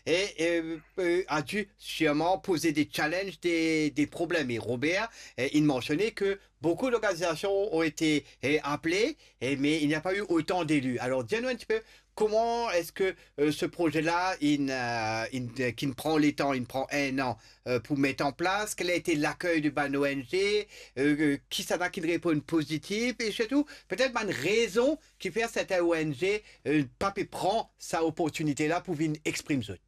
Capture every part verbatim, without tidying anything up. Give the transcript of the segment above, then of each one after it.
et euh, euh, a dû sûrement poser des challenges, des, des problèmes. Et Robert euh, il mentionnait que beaucoup d'organisations ont été euh, appelées, euh, mais il n'y a pas eu autant d'élus. Alors, dis-nous un petit peu comment est-ce que euh, ce projet-là, il, euh, il, euh, qui prend le temps, il prend un an euh, pour mettre en place, quel a été l'accueil de bann O N G, euh, euh, kisannla ki reponn pozitif, e sirtou, petet bann rezon ki fer sertin O N G euh, pa pe pran sa oportinite la pou vinn exprim zot.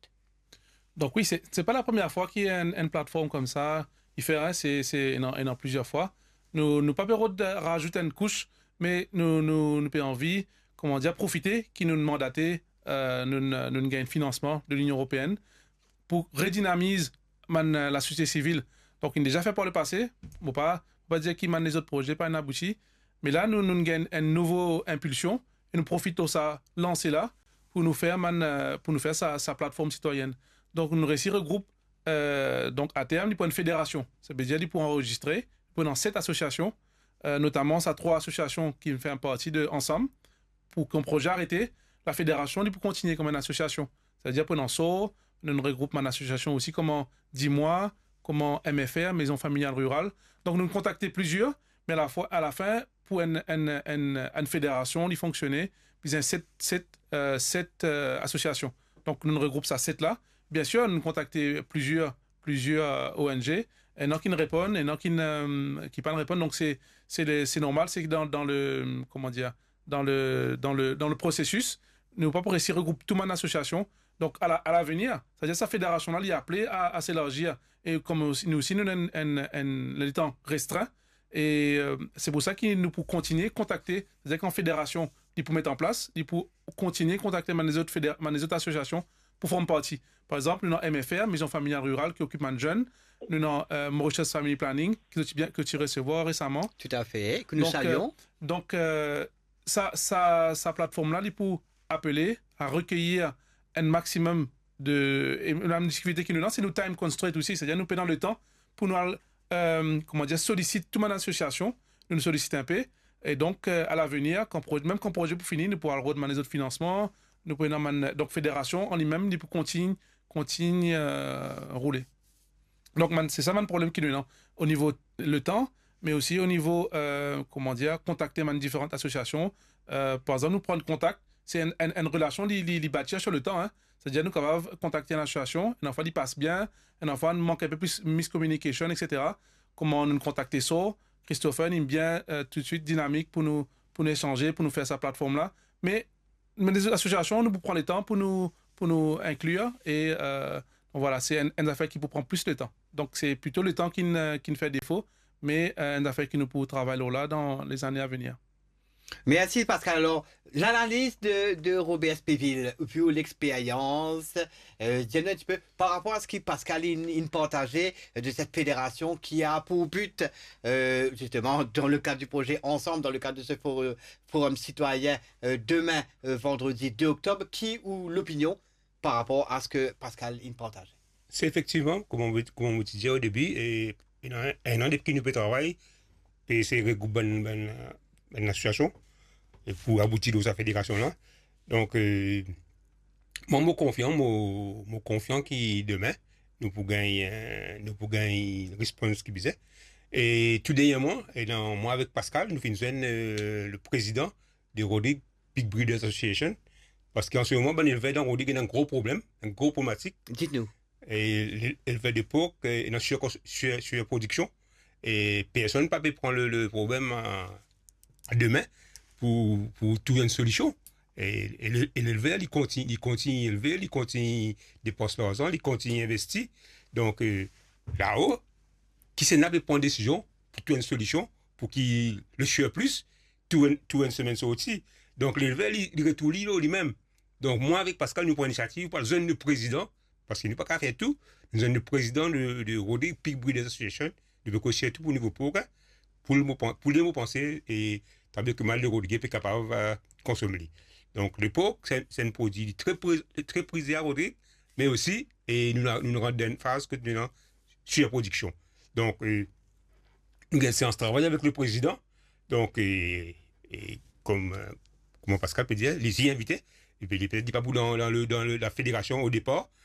Donk wi, se, se pa lapremier fwa ki enn, enn platform koumsa, i fer, hein, se, se, ena, ena plizier fwa. Nou, nou pa pe rod razout enn kous, me nou, nou, nou pe anvi, koman dir, profite ki nou mandate, euh, nou, nou gagn finansman de Linion Eropeenn pou redinamiz bann, euh, lasosiete sivil. Donk, inn deza fer par lepase, mo pa, mo pa dir ki bann lezot proze pa inn abouti, me la, nou, nou gagn enn nouvo inpilsion e nou profit lor sa lanse la pou nou fer bann, euh, pou nou fer sa, sa platform sitwayenn. Donk, nou resi regroup, euh, donk, aterm, li pou enn federasion. Sa ve dir li pou anrezistre, li pou ena set asosiasion, euh, notaman sa trwa asosiasion ki fer parti de Ansanm, pou kan proze arete, lafederasion, li pou kontigne kouma enn asosiasion. Setadir pou ena SOR, nou regroup bann asosiasion osi, kouma Dimwa, kouma M F R, Maison Familiale Rurale. Donk, nou kontakte plizier, me alafwa, alafin, pou enn, enn, enn, enn federasion, li fonksione, bizin set, set, euh, set, euh, asosiasion. Donk, nou regroup sa set la. Biensir, nou kontakte plizier, plizier, euh, O N G. Ena ki'nn reponn, ena ki'nn, euh, ki pa'nn reponn. Donk, se, se le, se normal, se dan, dan le, koman dir, dan le, dan le, dan le prosesis. Nou pa pou resi regroup tou bann asosiasion. Donk, a la, a lavenir, setadir sa federasion la, li aple a, a se elarzi. E kouma osi, nou osi, nou ena enn, enn, enn letan restrin. E, euh, se pou sa ki nou pou kontigne kontakte, setadir kan federasion, li pou met an plas, li pou kontigne kontakte bann lezot feder-, bann lezot asosiasion pou form parti. Par exanp, nou ena M F R, Maison Familiale Rurale, ki okip bann zenn. Nou ena, euh, Mauritius Family Planning, ki zot ti bien, ki zot ti resevwar resaman. Toutafe, ke nou salion. Donk, euh, donk, euh, sa, sa, sa platform la, li pou apele a rekeir enn maximum de, e la difikilte ki nou ena, se nou time constraint osi, setadir nou pena letan pou nou al, euh, koman dir, solisit tou bann asosiasion, nou, nou solisit inpe, e donk, euh, a lavenir, kan pro-, mem kan proze pou fini, nou pou al rod bann lezot finansman, nou pou ena bann, donk federasion an limem, li pou kontign, kontign, euh, roule. Donk, bann, se sa bann problem ki nou ena o nivo letan, me osi o nivo, euh, koman dir, kontakte bann diferan asosiasion. Euh, par exanp, nou pran kontak, se enn, enn, enn relasion, li, li, li batir sir letan, hein. Setadir, nou kapav kontakte enn asosiasion, enn fwa li pas bien, enn fwa nou mank inpe plis miscommunication, et cetera. Kouma nou kontakte SOR, Christopher, li bien, euh, toutswit dinamik pou nou, pou nou esanze, pou nou fer sa platform la. Me, me lezot asosiasion, nou pou pran letan pou nou, pou nou inklir, e, euh, donk vwala, se enn, enn zafer ki pou pran plis letan. Donk, se plito letan ki'nn, euh, ki'nn fer defo, me, euh, enn zafer ki nou pou travay lor la dan lezane a venir. Mersi, Pascal. Alor, lanaliz de, de Robert Spéville, vu ou lexperyans, euh, dir nou enn tipe par rapor a seki Pascal inn, inn partaze, euh, de set federasion ki a pou but, euh, zisteman, dan le kad di proze Ansanm, dan le kad de se for-, forum sitwayin, euh, demin, euh, vandredi de oktob, ki ou lopinion par rapor a seki Pascal inn partaze? Se efektivman, kouma mo, kouma mo ti dir o debi, e, ena enn, enn an depi ki nou pe travay, pe esey regroup bann, bann, bann asosiasion, e pou abouti lor sa federasion la. Donk, euh, mwa, mo konfian, mo, mo konfian ki demin, nou pou gagn, euh, nou pou gagn respons ki bizin. E tou dernyerman, e dan, mwa avek Pascal, nou finn zwenn, euh, le prezidan de Rodrigues Pig Breeders Association, paski an se moman, bann elver dan Rodrigues ena enn gro problem, enn gro problematik. Dit nou. E le-, elver de pork, e, ena sir-, sir-, sirprodiksion, e personn pa pe pran le, le problem a, a de min pou, pou trouv enn solision. E, e le, e lelver, li kontign-, li kontign elve, li kontign depans larzan, li kontign investi. Donk, e, lao, kisannla pe pran desizion pou trouv enn solision pou ki le surplus tou enn, tou enn semenn sorti. Donk, lelver, li, li retourn li lor limem. Donk, mwa avek Pascal, nou pran inisiativ pou al zwenn le prezidan, paski nou pa kapav fer tou, nou zwenn le prezidan de, de Rodrigues Pig Breeders Association, nou pe koz sirtou pou nivo pork, pou li mo pan-, pou li mo panse, e tabli ki mal de Rodrigues pe kapav, e, konsom li. Donk, le pork, se, se enn prodwi tre pri-, tre prize a Rodrigues, me osi, e nou, nou rant dan enn faz kot nou ena sirprodiksion. Donk, e, nou gagn seans travay avek le prezidan. Donk, e, e kom, e, kouma Pascal pe dir, li ti invite, epi li petet li pa pou dan, dan le, dan le, la federasion o depar,